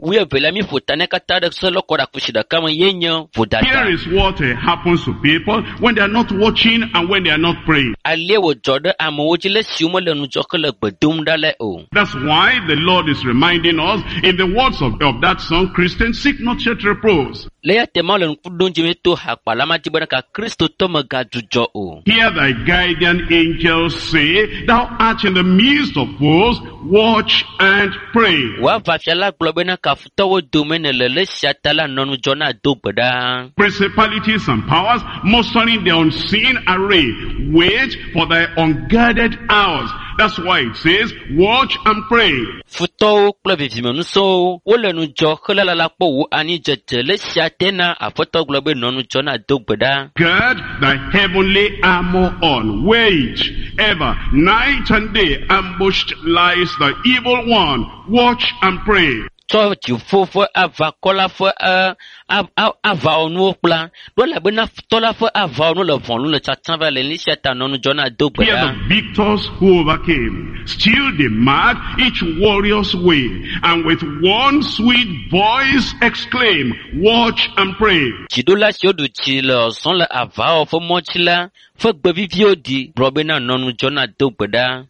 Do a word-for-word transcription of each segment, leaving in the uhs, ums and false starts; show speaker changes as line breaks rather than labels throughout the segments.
Wuievelia mi ƒo ta ne katã ɖe se lɔkɔ ɖe akusi ɖeka me ye nye vodada.
Here is what uh, happens to people when they are not watching and when they are not praying.
Alie wòdzɔ ɖe amewo dzi le esi womele ŋudzɔ hele gbe dom ɖa le o.
That's why the Lord is reminding us in the words of, of that song, Christians, seek not yet repose.
Le eya ta Mawu le ŋku ɖom dzi mi to hakpala ma dzi bena ka kristotɔ megadzudzɔ o.
Hear thy guardian angels say, Thou art in the midst of foes, watch and pray.
Wò aʋafia la gblɔ bena kafutɔwo dome nèle le esia ta la nɔ ŋudzɔ na do gbe ɖa.
Principalities and powers mustering their unseen array, wait for thy unguarded hours. That's why it says, watch and pray.
Futɔwo kple vivimenusɔwo wole ŋudzɔ hele lala kpɔ wò anidzedze le esia te na aƒetɔ gblɔ be nɔ ŋudzɔ na do gbe ɖa.
Gird thy heavenly armor on. Wait ever, night and day, ambushed lies the evil one. Watch and pray.
Tsɔ dziƒo ƒe aʋakɔ la ƒe ɛ, a- a- aʋawɔnuwo kpla ɖo elabena futɔ la ƒe aʋawɔnuwo le ʋɔnu le tsatsam va le esia ta nɔ ŋudzɔ na do gbe
Hear
ɖa.
the victors who overcame. Still they mark each warrior's way, and with one sweet voice exclaim, watch and pray.
Dziɖula siwo ɖu dzi le zɔzɔm le aʋawɔwɔ ƒe mɔ dzi la ƒe gbe viviwo ɖi gblɔ bena nɔ ŋudzɔ na do gbe ɖa.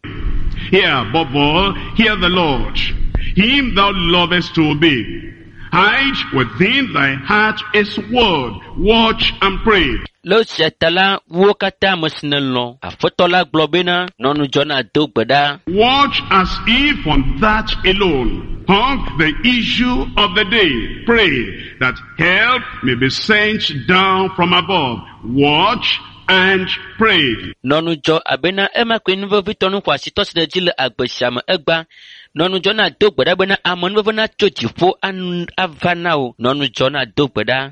Hear above all, hear the Lord. Him thou lovest to obey. Hide within thy heart his word. Watch and pray.
Le esia ta la, wo katã ame si nèlɔ̃, Aƒetɔ la gblɔ bena nɔ ŋudzɔ na do gbe ɖa.
Watch as if on that alone hung the issue of the day. Pray that help may be sent down from above. Watch and pray.
Nɔ ŋudzɔ abena ema koe nu vevitɔ nu xɔasitɔ si ɖe dzi le agbe sia me egba. Nɔ ŋudzɔ na do gbe ɖa bena amenuveve natso dziƒo an- ava na wò. Nɔ ŋudzɔ na do gbe ɖa.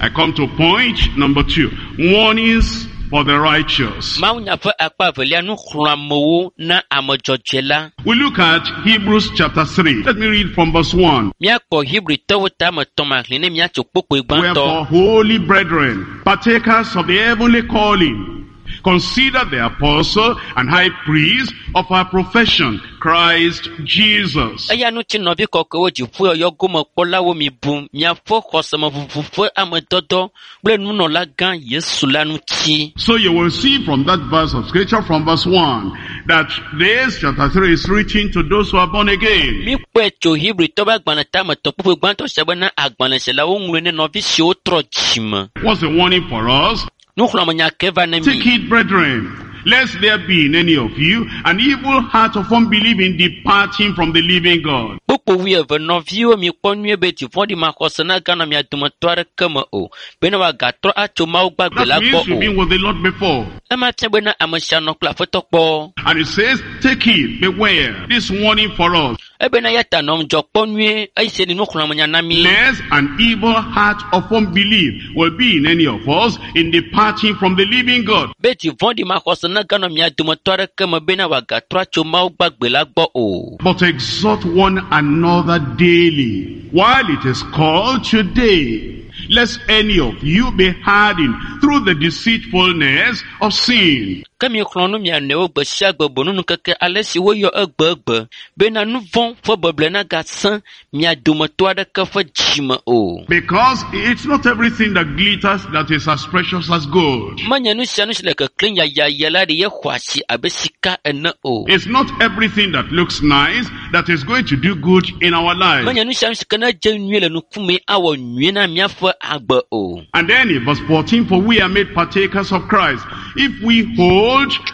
I come to point number two. Warnings for the righteous.
Mawunya ƒe akpa evelia nuxlɔ̃amewo na ame dzɔdzɔe la.
We look at Hebrews chapter three. Let me read from verse one.
Míakpɔ Hebritɔwo tame tɔ̃ maxlẽ ne míatso kpokpoe gbãtɔ.
Wherefore, holy brethren, partakers of the heavenly calling, consider the apostle and high priest of our profession, Christ Jesus.
Eya ŋuti nɔvi kɔkɔewo dziƒoyɔyɔ gomekpɔlawo mi bu miaƒe xɔsemeʋuʋu ƒe amedɔdɔ kple nunɔlagã Yesu la ŋuti.
So you will see from that verse of scripture, from verse one, that this chapter three is written to those who are born again.
Míkpɔe tso Hebritɔwo ƒe agbalẽ tame tɔ̃ kpukpui gbãtɔ sia bena agbalẽ sia la woŋlɔe ne nɔvi siwo trɔ dzime.
What's the warning for us?
Nuxlɔ̃amenya ke va ne
Take
mi.
heed, brethren, lest there be in any of you an evil heart of unbelieving departing from the living God.
Kpukpui wuieve nɔviwo mikpɔ nyuie be dziƒoɖi maxɔse naganɔ mia dometɔ aɖeke me o bena wòagatrɔ atso Mawu gbagbe la
That
gbɔ
means you've
o.
been with the Lord before.
Ema fia bena ame sia nɔ kple Aƒetɔ kpɔ.
And it says, take heed, beware. This warning for us.
Ebena ya ta nɔ ŋudzɔ kpɔ nyuie eye se ni nuxlɔ̃amenya na mi.
Lest an evil heart of unbelief will be in any of us in departing from the living God.
Be dzivɔ̃ɖi maxɔse naganɔ mia dometɔ aɖeke me bena wòagatrɔ atso Mawu gbagbe la gbɔ o.
But exhort one another daily, while it is called today, lest any of you be hardened through the deceitfulness of sin.
Ke mixlɔ̃ nu mia nɔewo gbe sia gbe bonunu keke ale si woyɔ egbegbe bena nu vɔ̃ ƒe beble nagasẽ mia dometɔ aɖeke ƒe dzime o.
Because it's not everything that glitters that is as precious as gold.
Menye nu sia nu si le keklẽm yayaya la ɖi ye xɔ asi abe sika ene o.
It's not everything that looks nice that is going to do good in our lives.
Menye nu sia nu si ke ne dze nyuie le nukume awɔ nyuie na míaƒe agbe o.
And then in verse fourteen, for we are made partakers of Christ, if we hold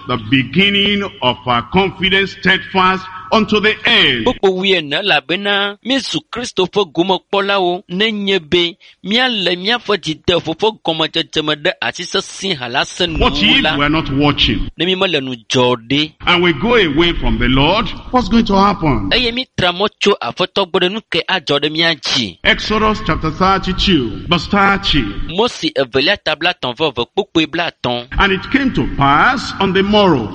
the beginning of our confidence steadfast unto the end.
Kpukpui wuiene elabena míezu Kristo ƒe gomekpɔlawo nenye be míalé míaƒe dzideƒo ƒe gɔmedzedze me ɖe asi sesĩe hala se
What
nuwuwu
if
la
we are not watching
ne mímele ŋudzɔ ɖe
and we go away from the Lord? What's going to happen?
eye mítra mɔ tso Aƒetɔ gbɔ ɖe nu ke adzɔ ɖe mía dzi.
Exodus chapter thirty-two, verse thirty.
Mose evelia ta blaetɔ̃ vɔ eve kpukpui blaetɔ̃.
And it came to pass on the morrow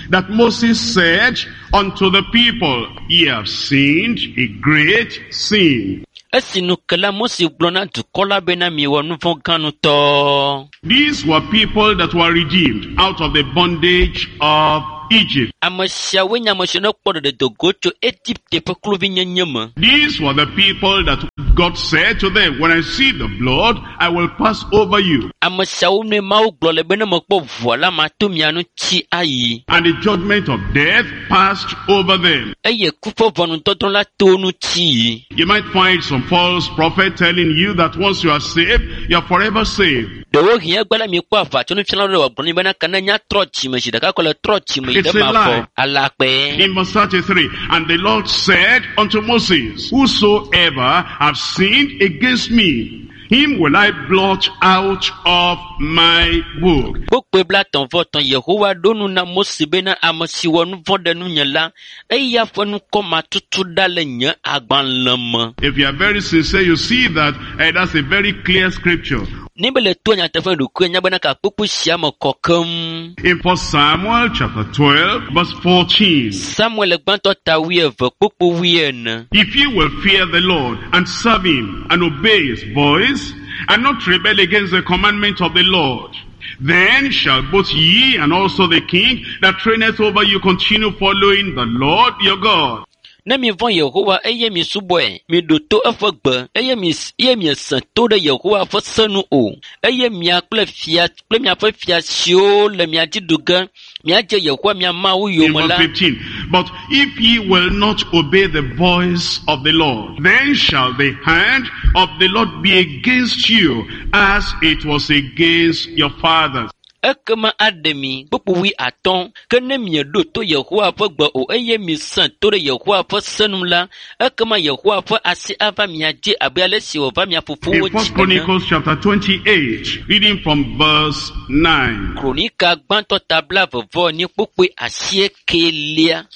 that Moses said unto the people, Ye have sinned a great sin.
Esi nu ke la Mose gblɔ na dukɔ la bena miewɔ nu vɔ̃ gã ŋutɔ.
These were people that were redeemed out of the bondage of Egypt.
Ame siawoe nye ame siwo ne kpɔ ɖeɖe do go tso Egipte ƒe kluvinyenye me.
These were the people that God said to them, When I see the blood, I will pass over you.
Ame siawo nue Mawu gblɔ le be ne mekpɔ ʋua la mato mia ŋuti ayi.
And the judgment of death passed over them.
Eye ku ƒe ʋɔnudɔdrɔ̃ la to wo ŋuti yi.
You might find some false prophet telling you that once you are saved, you are forever saved.
Ɖewohĩ egbe la miekpɔ aʋatsonufialawo ɖe wòagblɔ nɛ bena ke ne nya trɔ dzime zi ɖeka ko le trɔ dzime yi
It's
ɖe
a
mavɔ.
lie.
Alakpɛ.
In verse thirty-three, and the Lord said unto Moses, Whosoever have sinned against me, him will I blot out of my book.
Kpukpui blaetɔ̃ vɔ etɔ̃ Yehowa ɖo nu na Mose bena ame si wɔ nu vɔ̃ ɖe nunye la, eya ƒe ŋkɔ matutu ɖa le nye agbalẽ me.
If you are very sincere, you see that eh, that's a very clear scripture.
Ne be le to nyateƒe ɖokuiwò nya bena ka kpukpui sia me kɔ keŋ.
In First Samuel chapter twelve, verse fourteen.
Samuel gbãtɔ ta wuieve kpukpui wuiene.
If you will fear the Lord and serve him and obey his voice and not rebel against the commandment of the Lord, then shall both ye and also the king that reigneth over you continue following the Lord your God.
Ne mivɔ̃ Yehowa eye misubɔe, miɖo to eƒe gbe eye mi eye miesẽ to ɖe Yehowa ƒe se nu o, eye mia kple fia kple miaƒe fia siwo le mia dzi ɖu ge, miadze Yehowa mia Mawu
In
yome
verse
la,
fifteen, but if ye will not obey the voice of the Lord, then shall the hand of the Lord be against you as it was against your fathers.
Ekema aɖe mi kpukpui wuiatɔ̃. Ke ne mieɖo to Yehowa ƒe gbe o eye miesẽ to ɖe Yehowa ƒe se nu la, ekema Yehowa ƒe asi ava mia dzi abe ale si wòva mia fofowo
In
dzi
First
ene.
Chronicles chapter twenty-eight, reading from verse nine.
Kronika gbãtɔ ta blaeve vɔ enyi kpukpui asiekelia.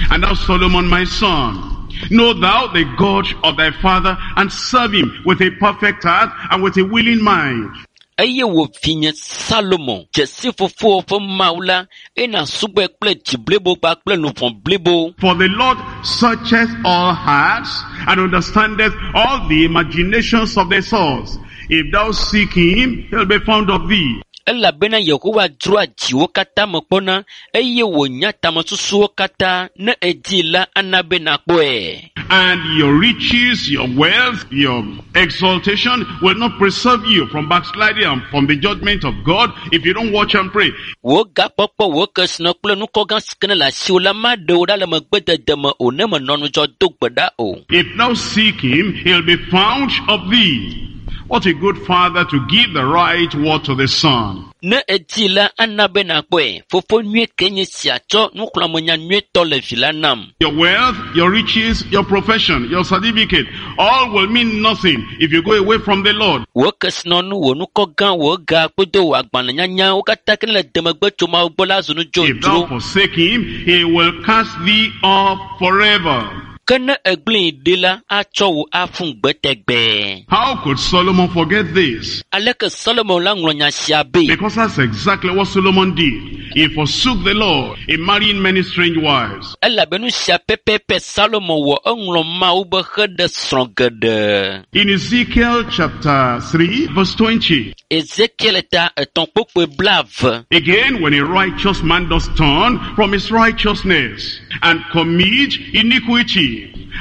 And thou, Solomon, my son, know thou the God of thy father, and serve him with a perfect heart and with a willing mind.
Eye wò vinye Salomo, dze si fofowò ƒe Mawu la, eye nàsubɔe kple dzi blibo kpakple luʋɔ blibo.
For the Lord searcheth all hearts, and understandeth all the imaginations of the thoughts. If thou seek him, he'll be found of thee.
Elabena Yehowa dzroa dziwo katã me kpɔna, eye wònya tamesusuwo katã. Ne èdii la, ana be nàkpɔe.
And your riches, your wealth, your exaltation will not preserve you from backsliding and from the judgment of God if you don't watch and pray.
Wò gakpɔkpɔ, wò kesinɔ kple nukɔgã si ke ne le asiwò la maɖe wò ɖa le megbedede me o ne mènɔ ŋudzɔ do gbe ɖa o.
If thou seek him, he'll be found of thee. What a good father to give the right word to the son.
Ne èdii la, ana be nàkpɔe. Fofo nyui ke nye sia tsɔ nuxlɔ̃amenya nyuietɔ le vi la nam.
Your wealth, your riches, your profession, your certificate, all will mean nothing if you go away from the Lord.
Wò kesinɔnu, wò nukɔgã, wò ga kple wò agbalẽnyanya, wo katã ke ne le demegbe tso Mawu gbɔ la zu nu
If thou
dzodzro.
forsake him, he will cast thee off forever.
Ke ne ègblẽe ɖi la, atsɔ wò aƒu gbe tegbee.
How could Solomon forget this?
Aleke Solomon la ŋlɔ nya sia be?
Because that's exactly what Solomon did. He forsook the Lord in marrying many strange wives.
Elabe nu sia pɛpɛpɛ Salomo wɔ eŋlɔ Mawu be heɖe srɔ̃ geɖe.
In Ezekiel chapter three, verse twenty.
Ezekiel ta etɔ̃ kpukpui blaeve.
Again, when a righteous man does turn from his righteousness and commit iniquity,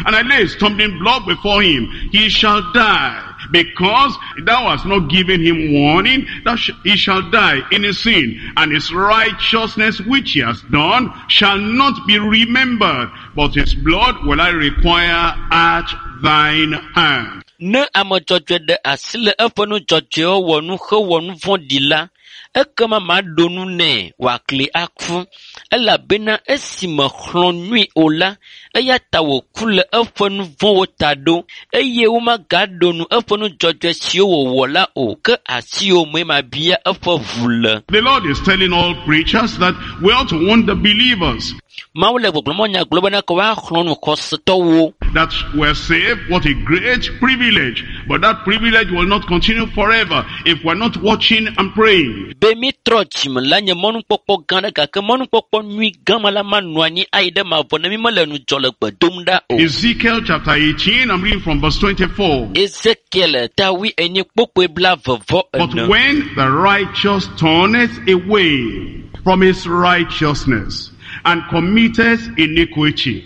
and I lay a stumbling block before him, he shall die. Because thou hast not given him warning, that sh-, he shall die in his sin, and his righteousness which he has done shall not be remembered, but his blood will I require at thine hand.
Ne ame dzɔdzɔe ɖe asi le eƒe nu dzɔdzɔewo wɔ nu hewɔ nu vɔ̃ɖi la, ekema maɖo nu nɛ wòakli aku, elabena esi mexlɔ̃ nui o la, eya ta wòku le eƒe nu vɔ̃wo ta ɖo, eye womagaɖo nu eƒe nu dzɔdzɔe siwo wòwɔ la o, ke asiwò mee mabia eƒe ʋu le.
The Lord is telling all preachers that we ought to warn the believers
Mawu le gbɔgblɔm nya gblɔ bena ke woaxlɔ̃ nu xɔsetɔwo.
that we're saved. What a great privilege. But that privilege will not continue forever if we're not watching and praying.
Be mi trɔ dzime la nye mɔnukpɔkpɔ gã ɖe gake mɔnukpɔkpɔ nyui gã ma la manɔ anyi ayi ɖe mavɔ ne mi mele ŋudzɔ le gbe dom ɖa o.
Ezekiel chapter eighteen, I'm reading from verse twenty-four.
Ezekiel ta wuienyi kpukpui blaeve vɔ
But
ene.
when the righteous turneth away from his righteousness and committeth iniquity,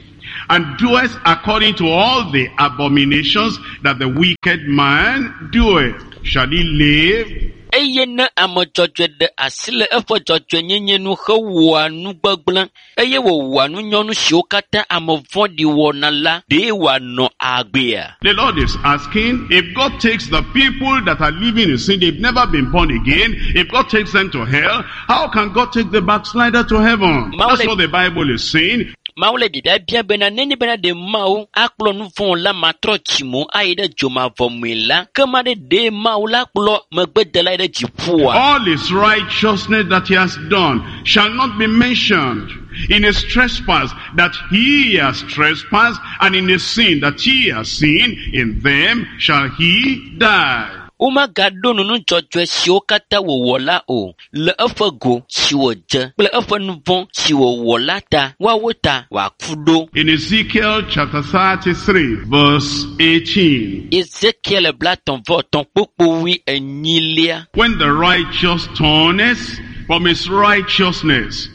and doeth according to all the abominations that the wicked man doeth, shall he live?
Eye ne ame dzɔdzɔe ɖe asi le eƒe dzɔdzɔenyenye nu hewɔa nu gbegblẽ eye wòwɔa nu nyɔnu siwo katã ame vɔ̃ɖi wɔna la, ɖe wòanɔ agbea?
The Lord is asking, if God takes the people that are living in sin, they've never been born again, if God takes them to hell, how can God take the backslider to heaven? That's what the Bible is saying.
Mawu le biabia bia bena nenye bena ɖe Mawu akplɔ nu vɔ̃ la matrɔ dzime ayi ɖe dzomavɔ me la, ke ma ɖe ɖe Mawu la kplɔ megbedela yi ɖe dziƒoa?
All his righteousness that he has done shall not be mentioned in his trespass that he has trespassed, and in his sin that he has sinned, in them shall he die.
Womagaɖo nu nudzɔdzɔe siwo katã wòwɔ la o le eƒe go si wòdze kple eƒe nu vɔ̃ si wòwɔ la ta, woawo ta wòaku ɖo.
In Ezekiel chapter thirty-three, verse eighteen.
Ezekiel blatɔ̃ vɔ etɔ̃ kpukpu wui enyilia.
When the righteous turneth from his righteousness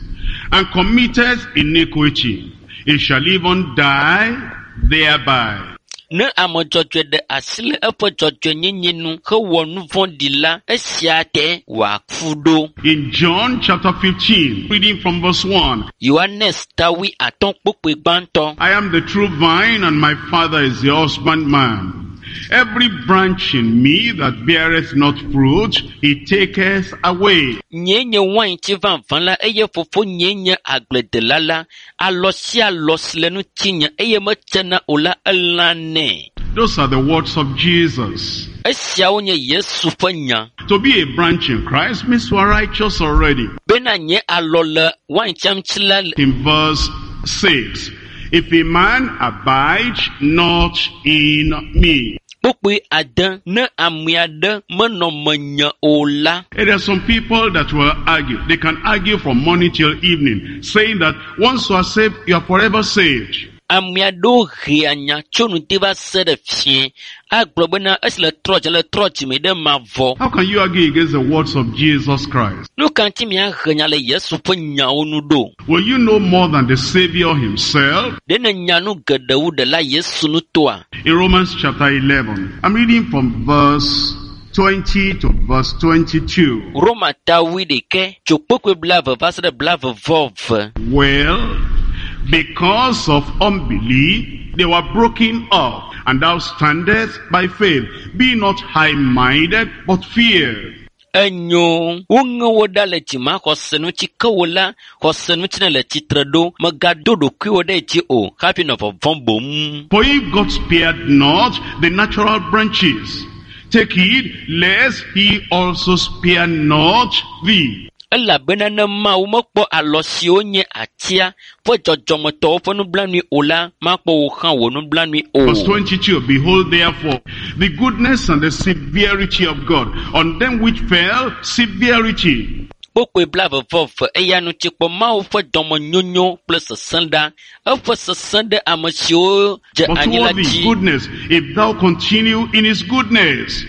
and committeth iniquity, he shall even die thereby.
Ne ame dzɔdzɔe ɖe asi le eƒe dzɔdzɔenyenye nu hewɔ nu vɔ̃ɖi la, esia te wòaku ɖo.
In John chapter fifteen, reading from verse one.
Yohanes ta wui atɔ̃ kpukpui gbãtɔ.
I am the true vine, and my Father is the husbandman. Every branch in me that beareth not fruit, he taketh away.
Nyee nye waintsi vavã la, eye fofo nyee nye agbledela la. Alɔ sia alɔ si le ŋutinye eye metsena o la, elãnɛ.
Those are the words of Jesus.
Esiawo nye Yesu ƒe nya.
To be a branch in Christ means you are righteous already.
Bena nye alɔ le waintsia ŋuti la,
In verse six, if a man abide not in me.
Kpukpui ade, ne ame aɖe menɔ menye o la.
There are some people that will argue. They can argue from morning till evening, saying that once you are saved, you are forever saved.
Ame aɖewo hea nya tso ŋdi va se ɖe fiẽ agblɔ bena esi le trɔ dze le trɔ dzime ɖe mavɔ.
How can you argue against the words of Jesus Christ?
Nu ka ŋuti miahe nya le Yesu ƒe nyawo nu ɖo?
Will you know more than the Savior himself?
Ɖe nènya nu geɖe wu ɖela Yesu ŋutɔa?
In Romans chapter eleven, I'm reading from verse twenty to verse twenty-two.
Roma ta wui ɖekɛ tso kpukpui blaeve va se ɖe blaeve vɔ eve.
Well, because of unbelief, they were broken up, and thou standest by faith. Be not high-minded, but fear.
Enyo, woŋe wo ɖa le dzimaxɔse ŋuti, ke wo la, xɔse ŋuti ne le tsitre ɖo, mègado ɖokuiwò ɖe dzi o, hafi nɔ vɔvɔ̃m boŋ.
For if God spared not the natural branches, take heed lest he also spare not thee.
Elabena ne Mawu mekpɔ alɔ siwo nye atia ƒe dzɔdzɔmetɔwo ƒe nublanui o la, makpɔ wò hã wò nublanui o.
Verse twenty-two, behold therefore the goodness and the severity of God on them which fell severity.
Kpukpui blaeve vɔ eve, eya ŋuti kpɔ Mawu ƒe dɔmenyonyo kple sesẽ ɖa, eƒe sesẽ ɖe ame siwo dze
But
anyi la
toward thee
dzi.
goodness, if thou continue in his goodness.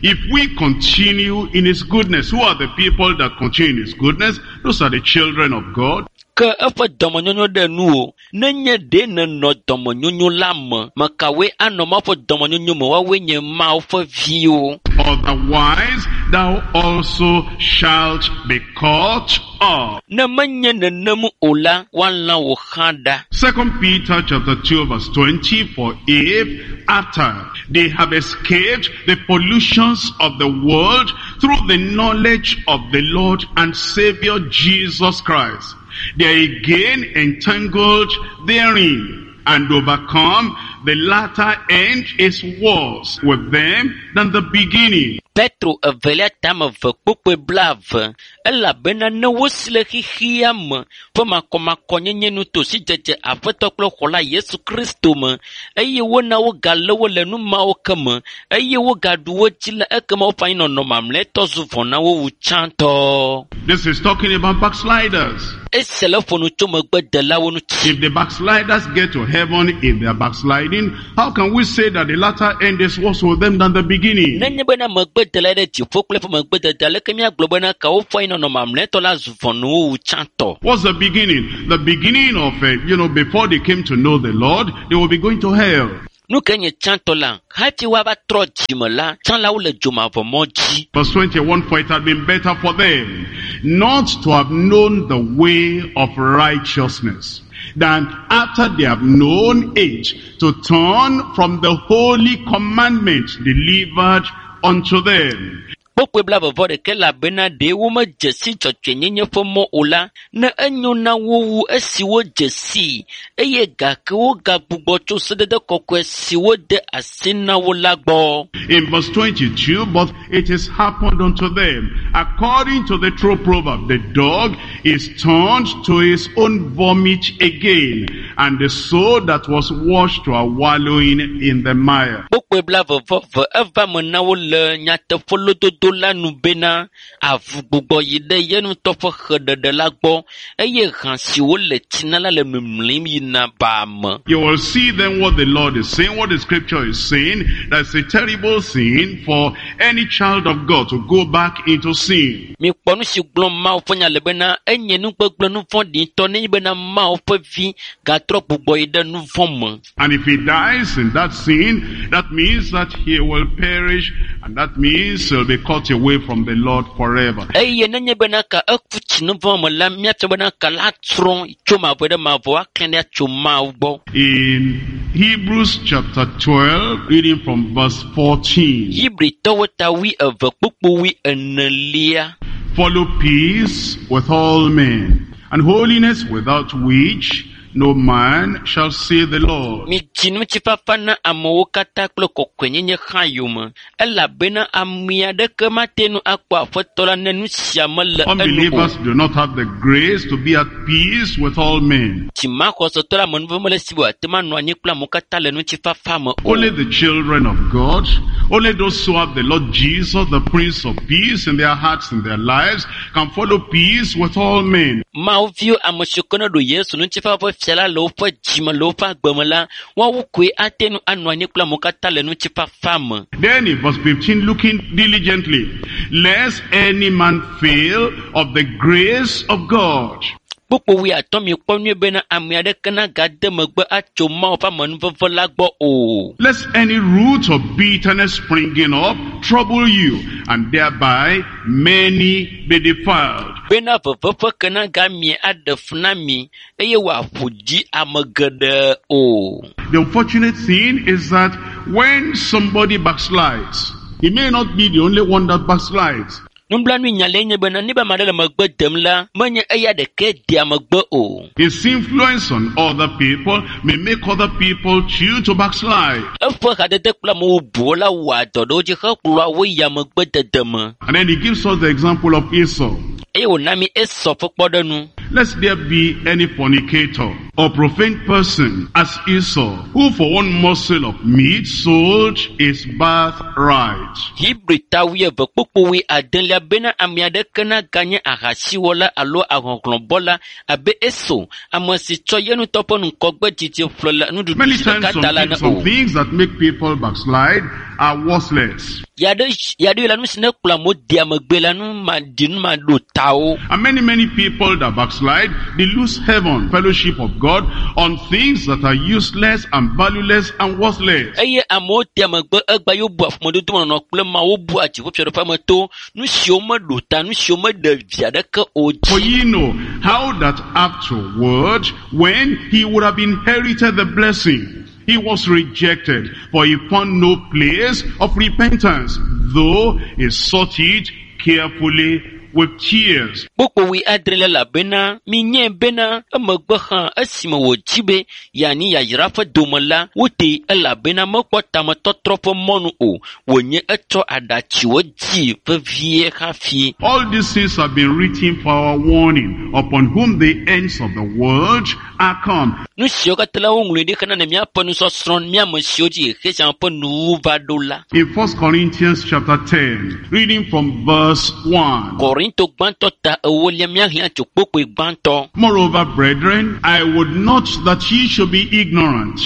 If we continue in his goodness, who are the people that continue in his goodness? Those are the children of God.
Ke eƒe dɔmenyonyo ɖe nuwò, nenye ɖe nènɔ dɔmenyonyo la me, mekawoe anɔ Mawu ƒe dɔmenyonyo me, woawoe nye Mawu ƒe viwo.
Otherwise, thou also shalt be caught up.
Ne menye nenem o la, woalã wò hã ɖa.
Second Peter chapter two verse twenty, for if after they have escaped the pollutions of the world through the knowledge of the Lord and Savior Jesus Christ, they are again entangled therein and overcome, the latter end is worse with them than the beginning.
Petro evelia tame eve kpukpui blaeve, elabena ne wosi le xexea me ƒe makɔmakɔnyenye nu to sidzedze Aƒetɔ kple Xɔla Yesu Kristo me, eye wona wogalé wo le nu mawo ke me, eye wogaɖu wo dzi la, ekema woƒe anyinɔnɔ mamlɛtɔ zu vɔ̃ na wo wu tsãtɔ.
This is talking about backsliders.
Esia le ƒo nu tso megbedelawo ŋuti.
If the backsliders get to heaven in their backsliding, how can we say that the latter end is worse for them than the beginning?
Nenye bena megbe dela ɖe dziƒo kple eƒe megbedede aleke míagblɔ bena ka woƒe anyinɔnɔ mamlɛtɔ la zu vɔ̃nuwo wu tsãtɔ.
What's the beginning? The beginning of, uh, you know, before they came to know the Lord, they will be going to hell.
Nu ke nye tsãtɔ la, hafi woava trɔ dzime la, tsã la wole dzomavɔmɔ dzi.
Verse twenty-one, for it had been better for them not to have known the way of righteousness, than after they have known it, to turn from the holy commandment delivered unto them.
Kpokpoe blaeve ɖekɛ elabena ɖe womedze si dzɔdzɔenyenye ƒe mɔ o la, ne enyo na wo wu esi wodze sii eye gake wogagbugbɔ tso sedede kɔkɔe si wode asi na wo la gbɔ.
In verse twenty-two, but it is happened unto them, according to the true proverb, the dog is turned to his own vomit again, and the soul that was washed to a wallowing in the mire.
Kpokpoe blaeve vɔ eve eva me na wo le nyateƒe lododo la nu bena avu gbugbɔ yi ɖe ye ŋutɔ ƒe xeɖeɖe la gbɔ eye hã si wole tsi na la le mimlim yina baa me.
You will see then what the Lord is saying, what the scripture is saying. That's a terrible sin for any child of God to go back into sin.
Mikpɔ nu si gblɔm Mawu ƒe nya le bena enye nugbegblẽ nu vɔ̃ɖi ŋutɔ nenye bena Mawu ƒe vi gatrɔ gbugbɔ yi ɖe nu vɔ̃ me.
And if he dies in that sin, that means that he will perish, and that means he'll be cut away from the Lord forever.
Eye nenye bena ka eku tsi nu vɔ̃ me la, míatsɔ bena ka la trɔ tso mavɔ ɖe mavɔ aklẽ ɖe tso Mawu gbɔ.
In Hebrews chapter twelve, reading from verse fourteen.
Hebritɔwo ta wui eve kpukpu wui enelia.
Follow peace with all men, and holiness, without which no man shall see the Lord.
Midzi ŋutifafa na amewo katã kple kɔkɔenyenye hã yome, elabena ame aɖeke mate ŋu akpɔ Aƒetɔ la ne nu sia mele enu o.
Unbelievers do not have the grace to be at peace with all men.
Dzimaxɔsetɔ la amenuveve mele esi be wòate ŋu anɔ anyi kple amewo katã le ŋutifafa me o.
Only the children of God, only those who have the Lord Jesus, the Prince of Peace, in their hearts and their lives, can follow peace with all men.
Mawu viwo ame siwo ke ne ɖo Yesu ŋutifafa ƒe fia la le woƒe dzime le woƒe agbe me la, woawo koe ate ŋu anɔ anyi kple amewo katã le ŋutifafa me.
Then in verse fifteen, looking diligently, lest any man fail of the grace of God.
Kpukpu wui atɔ̃ mikpɔ nyuie bena ame aɖeke nagade megbe atso Mawu ƒe amenuveve la gbɔ o.
Lest any root of bitterness springing up trouble you, and thereby many be defiled.
Bena veve ƒe ke nagamie aɖe fu na mi eye wòaƒo dzi ame geɖe o.
The unfortunate thing is that when somebody backslides, he may not be the only one that backslides.
Nublanui nya le nye bena ne be ame aɖe le megbe dem la, menye eya ɖekae dea megbe o.
His influence on other people may make other people choose to backslide.
Eƒe hadede kple amewo bubuwo la wɔa dɔ ɖe wo dzi hekplɔa wo yia megbedede me.
And then he gives us the example of Esau.
Eye wòna mi Esau ƒe kpɔɖeŋu.
Lest there be any fornicator or profane person as Esau, who for one morsel of meat sold his birthright.
Hebri ta wuieve kpukpu wui adelia bena ame aɖeke naganye ahasiwɔla alo ahɔhlɔ̃bɔla abe Esau, ame si tsɔ ye ŋutɔ ƒe ŋgɔgbe dzidzi ƒle le nuɖuɖu
Many
si
times
ɖeka
some,
ta la ne
some
o.
things that make people backslide are worthless.
Yaɖe yaɖe la nu si ne kplɔ amewo dea megbe la nu ma ɖi nu ma ɖo tawo.
And many, many people that backslide, they lose heaven, fellowship of God, on things that are useless and valueless and worthless.
Eye amewo dea megbe egba yewo bua ƒomedodomenɔnɔ kple Mawu bua dziƒofiaɖuƒea me to nu siwo meɖo ta, nu siwo meɖe vi aɖeke o
For
dzi.
ye know how that afterward, when he would have inherited the blessing, he was rejected, for he found no place of repentance, though he sought it carefully with tears.
Kpukpu wui adre elabena minyae bena emegbe hã esime wòdzi be yeanyi yayra ƒe dome la, wotee elabena mekpɔ tametɔtrɔ ƒe mɔnu o. Wònye etsɔ aɖatsiwo dzi vevie hafi.
All these things have been written for our warning, upon whom the ends of the world are come.
Nu siwo katã la woŋlɔe ɖi hena ne míaƒe nusɔsrɔ̃ mía ame siwo dzi xexe sia ƒe nuwuwu va ɖo la.
In First Corinthians chapter ten, reading from verse one.
Korinto gbãtɔ ta ewolia míaxlẽ tso kpukpui gbãtɔ.
Moreover, brethren, I would not that ye should be ignorant,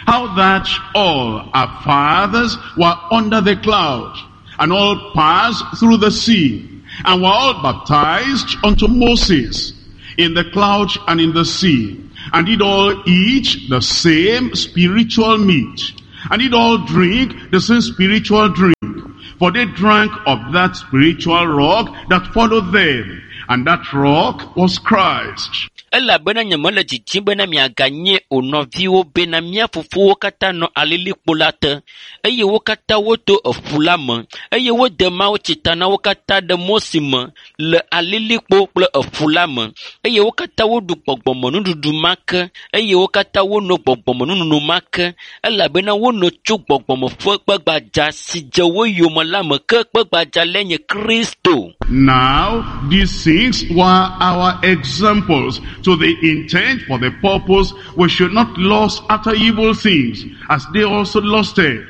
how that all our fathers were under the cloud, And all passed through the sea, and were all baptized unto Moses in the cloud and in the sea, and did all eat the same spiritual meat, and did all drink the same spiritual drink. For they drank of that spiritual rock that followed them, and that rock was Christ.
Elabena nyemele didim bena miaganye o nɔviwo bena mía fofowo katã nɔ alilikpo la te eye wo katã woto eƒu la me eye wode mawutsi ta na wo katã ɖe Mose me le alilikpo kple eƒu la me eye wo katã woɖu gbɔgbɔmenuɖuɖu ma ke eye wo katã wono gbɔgbɔmenunono ma ke elabena wono tso gbɔgbɔme ƒe kpegbadza si dze wo yome la me ke kpegbadza lae nye Kristo.
Now, these things were our examples to the intent for the purpose we should not lust after evil things, as they also lusted.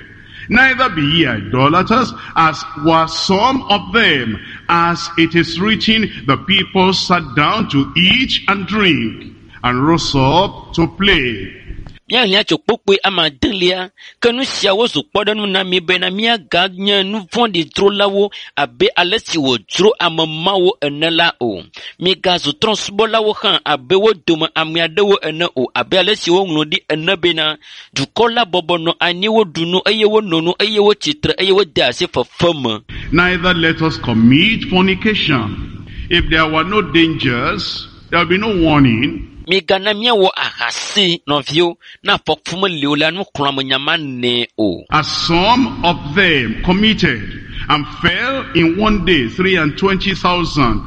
Neither be ye idolaters, as were some of them. As it is written, the people sat down to eat and drink, and rose up to play.
Míaxlẽ tso kpukpui ame adelia ke nu siawo zu kpɔɖeŋu na mí bena míaganye nu vɔ̃ɖi dzrolawo abe ale si wòdzro ame mawo ene la o. Migazu trɔ̃subɔlawo hã abe wo dome ame aɖewo ene o abe ale si woŋlɔ ɖi ene bena dukɔ la bɔbɔ nɔ anyi woɖu nu eye wono nu eye wotsitre eye wode asi fefe me.
Neither let us commit fornication. If there were no dangers, there will be no warning.
Migana míawɔ ahasi nɔviwo ne afɔku meli o la nuxlɔ̃amenya manɛ o.
As some of them committed and fell in one day three and twenty thousand.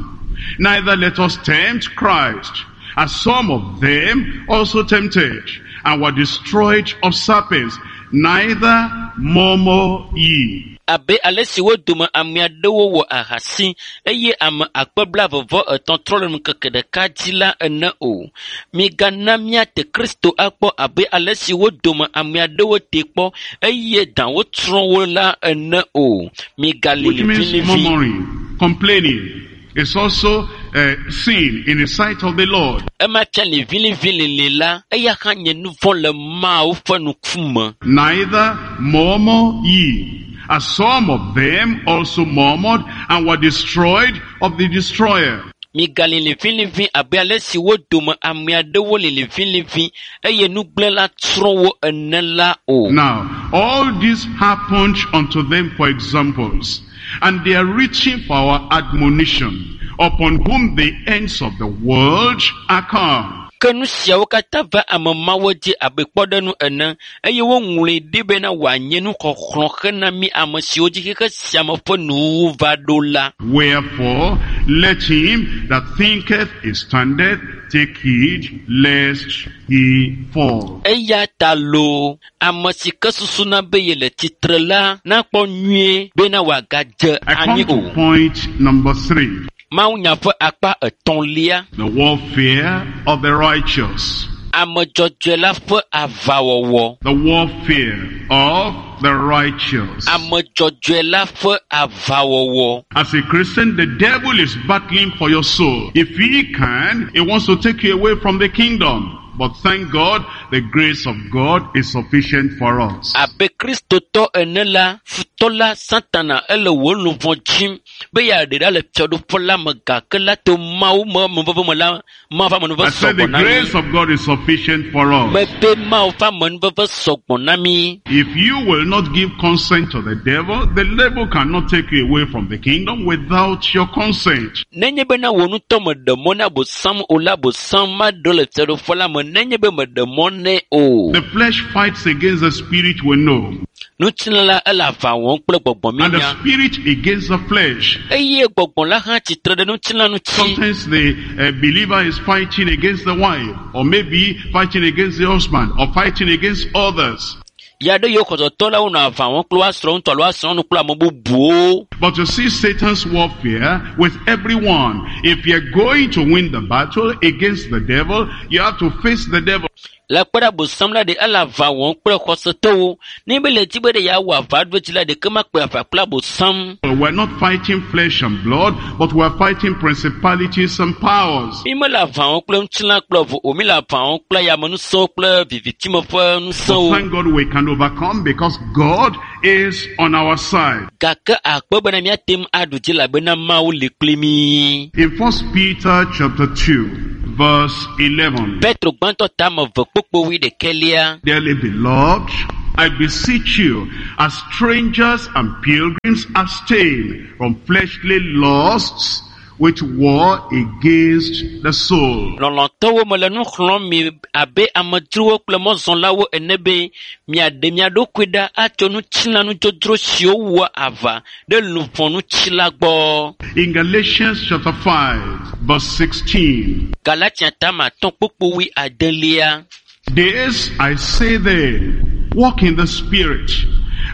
Neither let us tempt Christ, as some of them also tempted and were destroyed of serpents. Neither murmur ye.
Abe ale si wo dome ame aɖewo wɔ ahasi eye ame akpe blaeve vɔ etɔ̃ trɔ le ŋkeke ɖeka dzi la ene o. Migana míate Kristo akpɔ abe ale si wo dome ame aɖewo te kpɔ eye dawo tsrɔ̃ wo la ene o. Migali
Which means
liʋiliʋi.
murmuring, complaining. It's also uh, sin in the sight of the Lord.
Ema fia liʋiliʋilili la, eya hã nye nu vɔ̃ le Mawu ƒe ŋkume.
Neither murmur ye, as some of them also murmured and were destroyed of the destroyer.
Migali liʋiliʋi abe ale si wo dome ame aɖewo li liʋiliʋi eye nugblẽla tsrɔ̃ wo ene la o.
Now, all this happened unto them for examples, and they are reaching for our admonition, upon whom the ends of the world are come.
Ke nu siawo katã va ame mawo dzi abe kpɔɖeŋu ene eye woŋlɔe ɖi bena wòanye nuxɔxlɔ̃ hena mí ame siwo dzi xexe sia me ƒe nuwuwu va ɖo la.
Wherefore, let him that thinketh he standeth take heed lest he fall.
Eya ta loo, ame si ke susuna be yele tsitre la nakpɔ nyuie bena wòagadze
I come
anyi
to
o.
point number three.
Mawunya ƒe akpa etɔ̃lia,
The warfare of the righteous.
ame dzɔdzɔe la ƒe aʋawɔwɔ.
The warfare of the righteous.
Ame dzɔdzɔe la ƒe aʋawɔwɔ.
As a Christian, the devil is battling for your soul. If he can, he wants to take you away from the kingdom. But thank God, the grace of God is sufficient for us.
Abe Kristotɔ ene la, futɔ la Satana ele wò luʋɔ dzim be yeaɖe ɖa le fiaɖuƒe la me gake la to Mawu me amenuveve me la, Mawu ƒe amenuveve
I said the
sɔgbɔ na mí.
grace of God is sufficient for us.
Mebe Mawu ƒe amenuveve sɔgbɔ na mí.
If you will not give consent to the devil, the devil cannot take you away from the kingdom without your consent.
Nenye bena wò ŋutɔ meɖe mɔ na Abosam o la, Abosam maɖo le fiaɖuƒe la me nenye be meɖe mɔ nɛ o.
The flesh fights against the spirit we know,
Ŋutilã la ele aʋa wɔm kple
and the
gbɔgbɔminya
spirit against the flesh.
eye gbɔgbɔ la hã tsitre ɖe ŋutilã ŋuti.
Sometimes the uh, believer is fighting against the wife, or maybe fighting against the husband, or fighting against others.
Ya ɖe yiwo xɔsetɔ la wonɔ aʋa wɔm kple woa srɔ̃ ŋutɔ alo woa srɔ̃ nu kple ame bubuwo.
But you see Satan's warfare with everyone. If you're going to win the battle against the devil, you have to face the devil.
Le kpe ɖe abosam la ɖe ele aʋa wɔm kple xɔsetɔwo. Ne be le dzi be ɖe yeawɔ aʋa ɖo dzi la ɖeke makpe aʋa kple abosam.
We're not fighting flesh and blood, but we're fighting principalities and powers.
Mi mele aʋa wɔm kple ŋutilã kple ʋu o, mi le aʋa wɔm kple yamenusẽwo kple vivitime ƒe
But
ŋusẽwo.
thank God we can overcome because God is on our side.
Gake akpe bena míate ŋu aɖu dzi elabena Mawu li kpli mí.
In First Peter chapter two, verse eleven.
Petro gbãtɔ tame eve kpokpo wuiɖekɛlia.
Dearly beloved, I beseech you, as strangers and pilgrims, abstain from fleshly lusts which war against the soul.
Lɔlɔ̃tɔwo mele nu xlɔ̃m mi abe amedzrowo kple mɔzɔlawo ene be miaɖe mia ɖokui ɖa atso ŋutilãnudzodzro siwo wɔa aʋa ɖe luʋɔ ŋuti la gbɔ.
In Galatians chapter five, verse sixteen,
Galatia tame atɔ̃ kpokpo wui adelia.
This I say then, walk in the Spirit,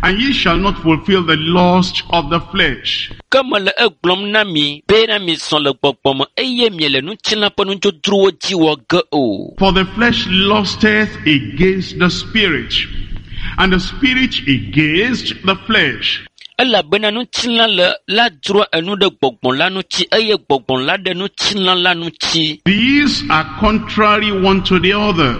and ye shall not fulfill the lust of the flesh.
Ke mele egblɔm na mi bena mizɔ le gbɔgbɔ me eye miele ŋutilã ƒe nudzodzrowo dzi wɔ ge o.
For the flesh lusteth against the Spirit, and the Spirit against the flesh.
Elabena ŋutilã le la dzroa enu ɖe gbɔgbɔ la ŋuti eye gbɔgbɔ la ɖe ŋutilã la ŋuti.
These are contrary one to the other,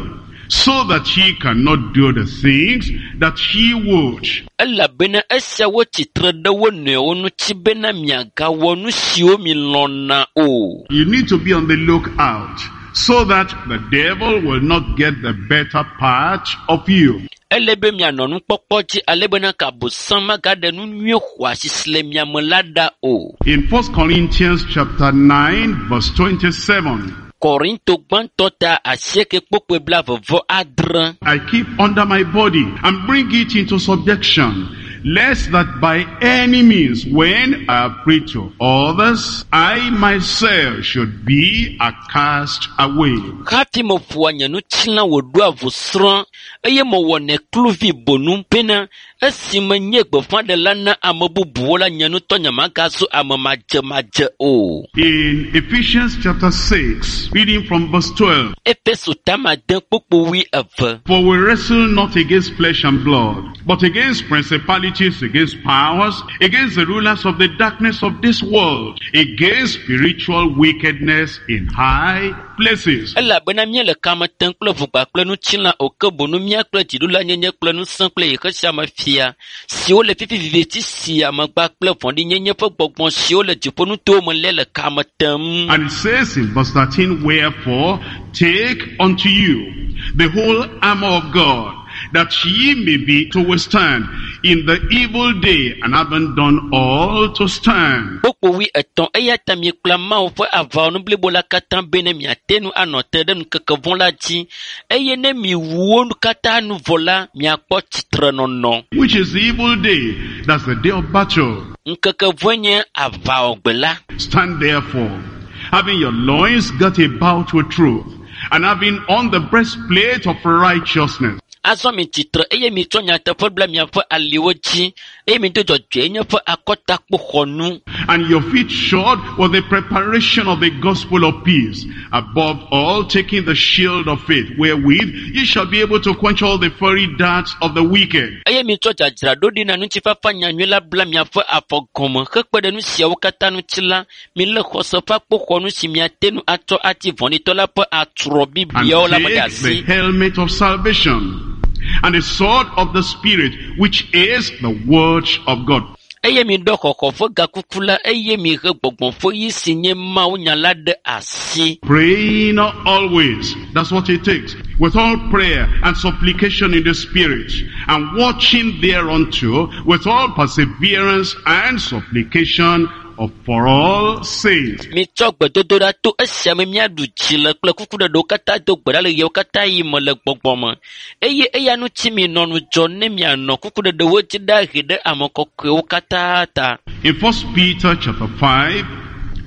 so that ye cannot do the things that ye would.
Elabena esiawo tsitre ɖe wo nɔewo ŋuti bena miagawɔ nu siwo milɔ̃na o.
You need to be on the lookout so that the devil will not get the better part of you.
Ele be mianɔ nukpɔkpɔ dzi ale bena ke abosam magaɖe nu nyui xɔasi si le mia me la ɖa o.
In First Corinthians chapter nine, verse twenty-seven,
Korinto gbãtɔ ta asieke kpokpoe blaeve vɔ adre.
I keep under my body and bring it into subjection, lest that by any means, when I have preached to others, I myself should be a cast away.
Hafi meƒoa nye ŋutilã wòɖoa ʋusrɔ̃ eye mewɔnɛ kluvi bonu bena esime nye gbeƒãɖela na ame bubuwo la nye ŋutɔ nyemagazu ame madzemadze o.
In Ephesians chapter six, reading from verse twelve,
Efeso tame ade kpokpo wui eve.
For we wrestle not against flesh and blood, but against principalities, against powers, against the rulers of the darkness of this world, against spiritual wickedness in high places.
Elabena míele kame tem kple ʋugba kple ŋutilã o ke bonu mía kple dziɖulanyenye kple ŋusẽ kple xexe sia me fia siwo le fifi viviti sia megba kple vɔ̃ɖinyenye ƒe gbɔgbɔ siwo le dziƒonutowo me lé le kame tem.
And it says in verse thirteen, wherefore take unto you the whole armor of God, that ye may be to withstand in the evil day, and having done all to stand.
Kpokpo wui etɔ̃ eya ta miekpla Mawu ƒe aʋawɔnu blibo la katã bene miate ŋu anɔ te ɖe ŋkeke vɔ̃ la dzi eye ne miwu wo katã nu vɔ la miakpɔ tsitrenɔnɔ.
Which is the evil day? That's the day of battle.
Ŋkeke vɔ̃e nye aʋawɔgbe la.
Stand therefore, having your loins girt about with truth, and having on the breastplate of righteousness.
Azɔ mi tsitre eye mitsɔ nyateƒe bla miaƒe aliwo dzi eye mido dzɔdzɔenye ƒe akɔtakpoxɔnu.
And your feet shod with the preparation of the gospel of peace. Above all, taking the shield of faith, wherewith ye shall be able to quench all the fiery darts of the wicked.
Eye mitsɔ dzadzraɖo ɖi na ŋutifafa nyanyui la bla miaƒe afɔ gɔme hekpe ɖe nu siawo katã ŋuti la, milé xɔse ƒe akpoxɔnu si miate ŋu atsɔ ati vɔ̃ɖitɔ la ƒe atrɔ
And
bibiawo la me ɖe
take
asi.
the helmet of salvation, and the sword of the Spirit, which is the word of God.
Eye miɖɔ xɔxɔ ƒe gakuku la eye mihe gbɔgbɔ ƒe ɣi si nye Mawu nya la ɖe asi.
Praying always. That's what it takes. With all prayer and supplication in the Spirit, and watching thereunto with all perseverance and supplication of for all saints.
Mitsɔ gbedodoɖa to esia me míaɖu dzi le kple kukuɖeɖewo katã do gbe ɖa le ɣewo katã yi me le gbɔgbɔ me. Eye eya ŋuti minɔ ŋudzɔ ne mianɔ kukuɖeɖewo dzi ɖa ɣi ɖe ame kɔkɔewo katã ta.
In First Peter chapter five,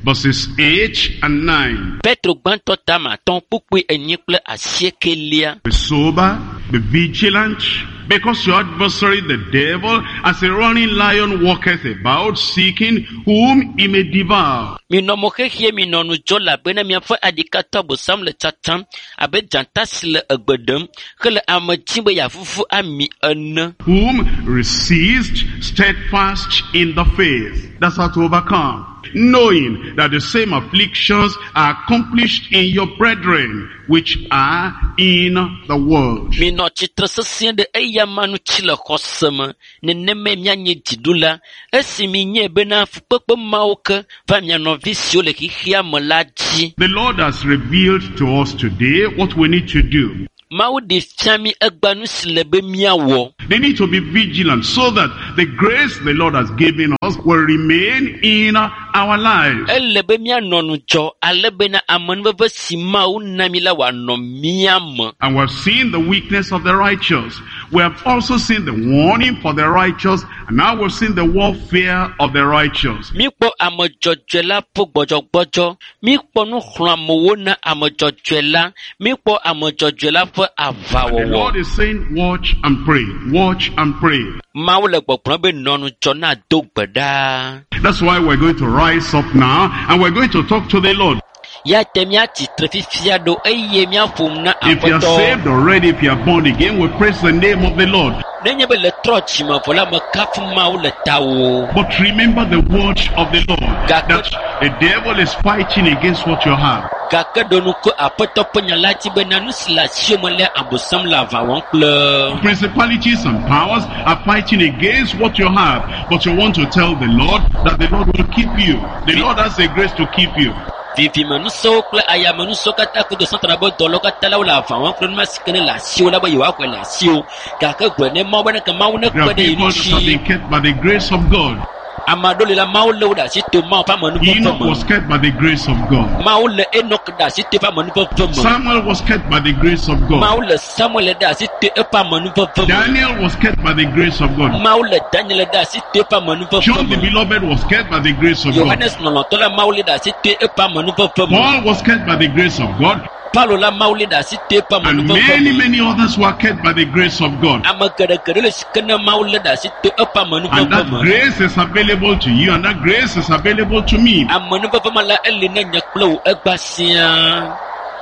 verses eight and nine.
Petro gbãtɔ tame atɔ̃ kpukpui enyi kple asiekelia.
Be sober, be vigilant, because your adversary the devil, as a roaring lion, walketh about, seeking whom he may devour.
Minɔ mo xexie minɔ ŋudzɔ elabena miaƒe aɖikatɔ abosam le tsatsam abe dzata si le egbe ɖem hele ame dzim be yeavuvu ami ene.
Whom resist steadfast in the faith. That's how to overcome. Knowing that the same afflictions are accomplished in your brethren which are in the world.
Minɔ tsitre sesĩe ɖe eyama ŋuti le xɔse me nenemae mianye dziɖula esi minyae bena fukpekpe mawo ke va mia nɔvi siwo le xexea me la dzi.
The Lord has revealed to us today what we need to do.
Mawu ɖe fia mí egbea nu si le be míawɔ.
They need to be vigilant so that the grace the Lord has given us will remain in our lives.
Ele be míanɔ ŋudzɔ ale bena amenuveve si Mawu na mí la wòanɔ mía me.
And we have seen the weakness of the righteous. We have also seen the warning for the righteous. And now we've seen the warfare of the righteous.
Míkpɔ ame dzɔdzɔe la ƒe gbɔdzɔgbɔdzɔ. Míkpɔ nuxlɔ̃amewo na ame dzɔdzɔe la. Míkpɔ ame dzɔdzɔe la ƒe
The
aʋawɔwɔ.
Lord is saying, watch and pray. Watch and pray.
Mawu le gbɔgblɔm be nɔ ŋudzɔ na do gbe ɖa.
That's why we're going to rise up now and we're going to talk to the Lord.
Ya te míatsitre fifia ɖo eye míaƒo nu na
If you are
Aƒetɔ.
saved already, if you are born again, we praise the name of the Lord.
Nenye be le trɔ dzime vɔ la, mekafu Mawu le tawò.
But remember the word of the Lord,
Gake-
that the devil is fighting against what you have.
Gake ɖo ŋku Aƒetɔ ƒe nya la dzi bena nu si le asiwò me la, Abosam le aʋa wɔm kple.
Principalities and powers are fighting against what you have. But you want to tell the Lord that the Lord will keep you. The Lord has the grace to keep you.
Vivimenusɔwo kple ayamenusɔwo katã kudo Satana ƒe dɔlawo katã la wole aʋa wɔm kple nu ma si ke ne le asiwò la be yewoaxɔe le asiwò. Gake gblɔe ne Mawu bena ke Mawu
There
nekpe
are
ɖe ye
people that have
ŋuti.
been kept by the grace of God.
Ame aɖewo li la, Mawu lé wo ɖe asi to Mawu ƒe amenuveve
Enoch
me.
was kept by the grace of God.
Mawu lé Enoch ɖe asi to eƒe amenuveve me.
Samuel was kept by the grace of God.
Mawu le Samuel ɖe asi to eƒe amenuveve me.
Daniel was kept by the grace of God.
Mawu le Daniel ɖe asi to eƒe amenuveve
John the
me.
Beloved was kept by the grace of God.
Yohanes lɔlɔ̃tɔ la Mawu lé ɖe asi to eƒe amenuveve me.
Paul was kept by the grace of God.
Paulo la Mawu lé ɖe asi to eƒe
And
amenuveve
many,
me.
many others were kept by the grace of God.
Ame geɖegeɖe le si ke ne Mawu lé ɖe asi to eƒe
And
amenuveve
that
me.
grace is available to you, and that grace is available to me.
Amenuveve ma la eli ne nye kple wò egbea siaa.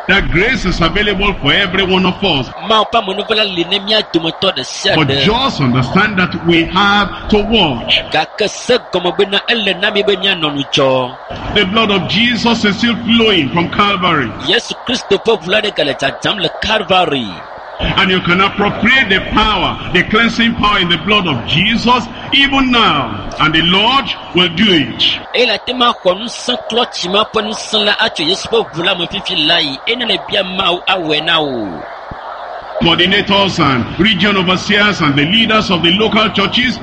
That grace is available for every one of us.
Mawu ƒe amenuveve la li ne mía dometɔ ɖe sia
But
ɖe.
just understand that we have to watch.
Gake se gɔme bena ele na mi be míanɔ ŋudzɔ.
The blood of Jesus is still flowing from Calvary.
Yesu Kristo ƒe ʋu la ɖe gale dzadzam le Calvary.
And you can appropriate the power, the cleansing power in the blood of Jesus even now. And the Lord will do it.
Eye le ate ŋu axɔ ŋusẽ klɔ tsi ma ƒe ŋusẽ la atso Yesu ƒe ʋu la me fifi la yi eye ne le bia Mawu awɔe na wò.
Coordinators and region overseers and the leaders of the local churches,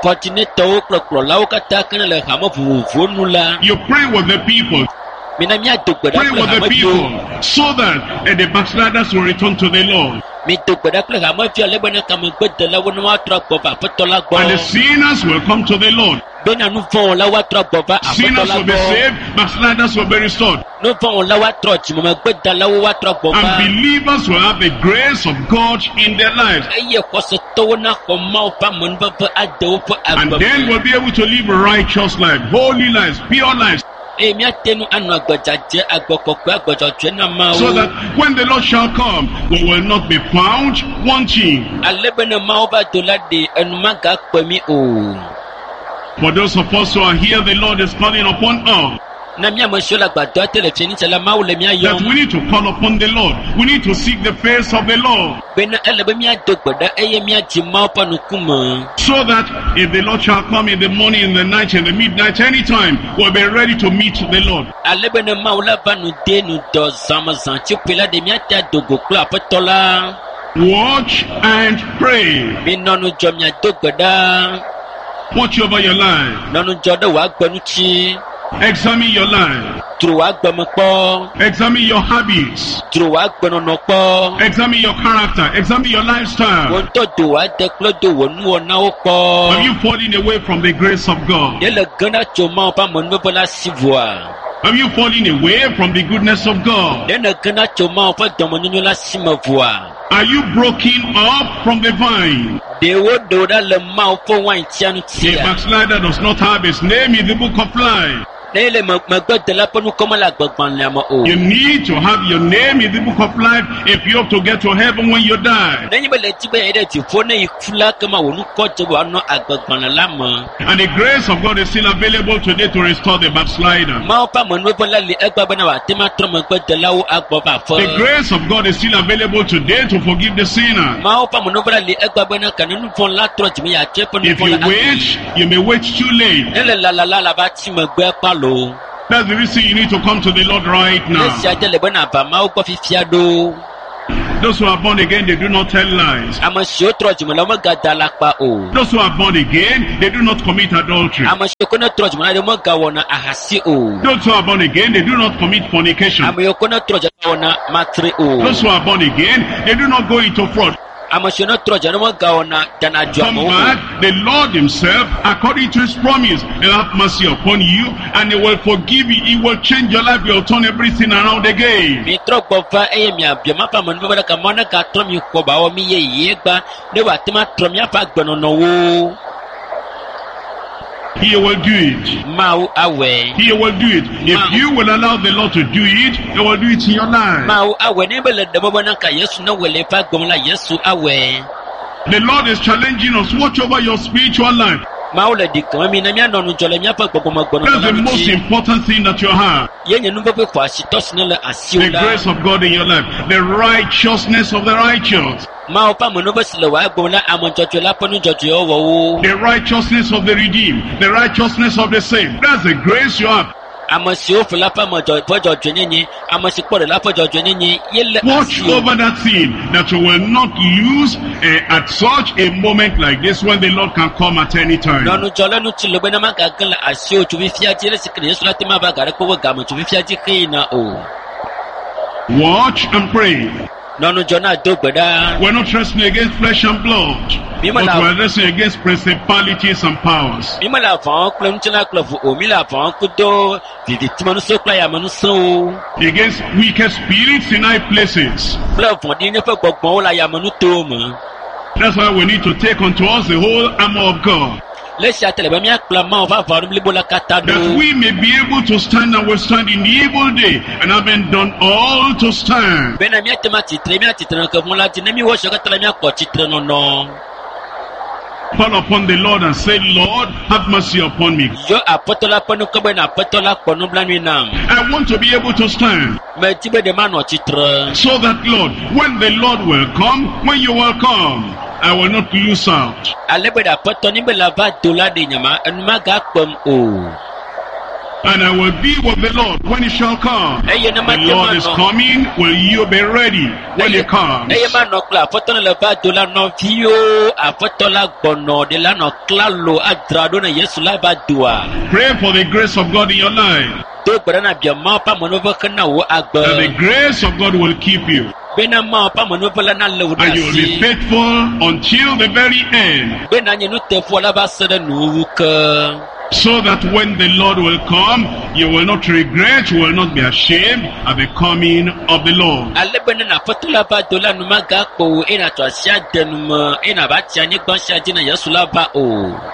Kɔdinetɔwo kple kplɔlawo katã ke ne le hame vovovowo nu la,
you pray with the people.
mina míado gbe ɖa
Pray
kple
with the
hameviwo.
people so that eh, the backsliders will return to the Lord.
Mido gbe ɖa kple hameviwo ale bena kamegbedelawo ne woatrɔ agbɔ va Aƒetɔ la
And the
gbɔ.
sinners will come to the Lord.
Bena nu vɔ̃ wɔlawo atrɔ agbɔ va Aƒetɔ
Sinners
la
will be
gbɔ.
saved, backsliders will be restored.
Nu vɔ̃ wɔlawo atrɔ dzimemegbedalawo woatrɔ agbɔ
And
va.
believers will have the grace of God in their lives.
Eye xɔsetɔwo naxɔ Mawu ƒe amenuveve ade woƒe
And
agbe
then
me.
we'll be able to live righteous life, holy lives, pure lives.
Eye míate ŋu anɔ agbe dzadzɛ, agbe kɔkɔe, agbe dzɔdzɔe na
So
Mawu.
that when the Lord shall come, we will not be found wanting.
Ale be ne Mawu va do la ɖe, enu magakpe mí o.
For those of us who are here, the Lord is calling upon us.
Na mía ame siwo le agbadɔa te le fianitsa la, Mawu le mía
That
yɔm
we need to call upon the Lord. We need to seek the face of the Lord.
bena ele be míado gbe ɖa eye míadzi Mawu ƒe ŋkume.
So that if the Lord shall come in the morning, in the night, in the midnight, anytime, we'll be ready to meet the Lord.
Ale be ne Mawu la va nu de nu dɔ zãme zãtsiƒe la ɖe míate ado go kple Aƒetɔ la.
Watch and pray.
Minɔ ŋudzɔ miado gbe ɖa.
Watch over your life.
Nɔ ŋudzɔ ɖe wò agbe ŋuti.
Examine your life.
Dzro wò agbe me kpɔ.
Examine your habits.
Dzro wò agbenɔnɔ kpɔ.
Examine your character. Examine your
Wò
lifestyle.
ŋutɔ do wò ade kple do wò nuwɔnawo
Have
kpɔ.
you fallen away from the grace of God?
Ɖe le gena tso Mawu ƒe amenuveve la si vɔa?
Have you fallen away from the goodness of God?
Ɖe nègena tso Mawu ƒe dɔmenyonyo la si me vɔa?
Are you broken up from the vine?
Ɖe woɖe wò ɖa le Mawu ƒe waintia
A
ŋutia?
backslider does not have his name in the book of life.
Ne ele me- megbedela ƒe ŋkɔ mele agbegbalẽa me o.
You need to have your name in the book of life if you have to get to heaven when you die.
Nenye be le di be yeayi ɖe dziƒo ne yi ku la kema wò ŋkɔ dze be wòanɔ agbegbalẽ la me.
And the grace of God is still available today to restore the backslider.
Mawu ƒe amenuveve la li egbea bena wòate ŋu atrɔ megbedelawo agbɔ va
The
aƒe.
grace of God is still available today to forgive the sinner.
Mawu ƒe amenuveve la li egbea bena ke ne nu vɔ̃ la trɔ dzime yeatsɔ eƒe nu
If
vɔ̃
you
la
wait,
ake.
you may wait too late.
Ne le lalala la va tsi megbe kpalo.
That's the reason you need to come to the Lord right
Ne
now.
sia dze le bena ava Mawu gbɔ fifia ɖo.
Those who are born again, they do not tell lies.
Ame siwo trɔ dzime la womegada alakpa o.
Those who are born again, they do not commit adultery.
Ame siwo ke ne trɔ dzime la ɖe womegawɔna ahasi o.
Those who are born again, they do not commit fornication.
Ame yiwo ke ne trɔ dzime la wɔna matre o.
Those who are born again, they do not go into fraud.
Ame siwo ne trɔ dzime la womegawɔna dana
Come
dzuamewo o.
back, the Lord himself, according to his promise, will have mercy upon you and he will forgive you. He will change your life. He will turn everything around again.
Mitrɔ gbɔ va eye miabia Mawu ƒe amenuveve ɖe ke Mawu negatrɔ mi xɔ ba wɔ mi yeye gba ne wòate ŋu atrɔ miaƒe agbenɔnɔwo.
He will do it.
Mawu awɔe.
He will do it. If you will allow the Lord to do it, he will do it in your life.
Mawu awɔe. Ne be le ɖe mɔ bena ka Yesu ne wɔe le eƒe agbe me la, Yesu awɔe.
The Lord is challenging us. Watch over your spiritual life.
Mawu le ɖi keme mi ne míanɔ ŋudzɔ le míaƒe gbɔgbɔmegbɔnɔnɔ
That's
la
the most
ŋuti.
important thing that you have.
Ye nye nu vevi xɔasitɔ si ne le asiwò
The
la.
grace of God in your life. The righteousness of the righteous.
Mawu ƒe amenuveve si le wò agbe me la, ame dzɔdzɔe la ƒe nu dzɔdzɔewo wɔwo.
The righteousness of the redeemed. The righteousness of the saved. That's the grace you have.
Ame siwo ƒo la ƒe ame dzɔ- ƒe dzɔdzɔenyenye, ame si kpɔ ɖe la ƒe dzɔdzɔenyenye ye le
Watch
asiwò.
over that thing that you will not lose eh, at such a moment like this when the Lord can come at any time.
Nɔ ŋudzɔ le ŋuti le bena magage le asiwò tso fifia dzi le si ke Yesu la te ma va ga ɖe kpe be game tso fifia dzi xeyina o.
Watch and pray.
Nɔ ŋudzɔ na do gbe ɖa.
We're not wrestling against flesh and blood,
Mi
but
me la
we're wrestling against principalities and powers.
mi me le aʋa wɔm kple ŋutilã kple ʋu o. Mi le aʋa wɔm kudo vivitimeŋusẽ kple ayamenusẽwo
Against wicked spirits in high places.
kple vɔ̃ɖinyenye ƒe gbɔgbɔwo le ayamenutowo me.
That's why we need to take unto us the whole armor of God.
Le esia ta le be míakplɔ Mawu ƒe aʋawɔnu blibo la katã
That
ɖo.
we may be able to stand and withstand in the evil day, and having done all to stand.
Bena míate ŋu atsitre, míatsitre nɔ ke vɔ̃ la dzi. Ne míwɔ esiawo katã la, míakpɔ tsitre nɔnɔ.
Call upon the Lord and say, Lord, have mercy upon me.
Yɔ Aƒetɔ la ƒe ŋkɔ bena Aƒetɔ la kpɔ nublanui nam.
I want to be able to stand.
Medi be ɖe manɔ tsitre.
So that, Lord, when the Lord will come, when you will come, I will not lose out.
Ale be ɖe Aƒetɔ ni be la va do la ɖe nyama, enu magakpem o.
And I will be with the Lord when he shall come.
Eye ne
The
mate
Lord is
manɔ.
coming. Will you be ready when he
Eye
comes?
eye manɔ kple Aƒetɔ ne le va do la nɔviwo Aƒetɔ la gbɔnɔ ɖe la nɔ klalo adzra ɖo ne Yesu la va doa.
Pray for the grace of God in your life.
Do gbe ɖa na bia Mawu ƒe amenuveve hena wò
That the
agbe.
grace of God will keep you.
Bena Mawu ƒe amenuveve la nalé wò ɖe
And you will be
asi.
faithful until the very end.
Bena nye nuteƒewɔla va se ɖe nuwuwu ke.
So that when the Lord will come, you will not regret, you will not be ashamed at the coming of the Lord.
Ale be ne Aƒetɔ la va do la nu magakpɔ wò eye nàtsɔ asi ade nu me eye nàva tsi anyigba sia dzi ne Yesu la va o.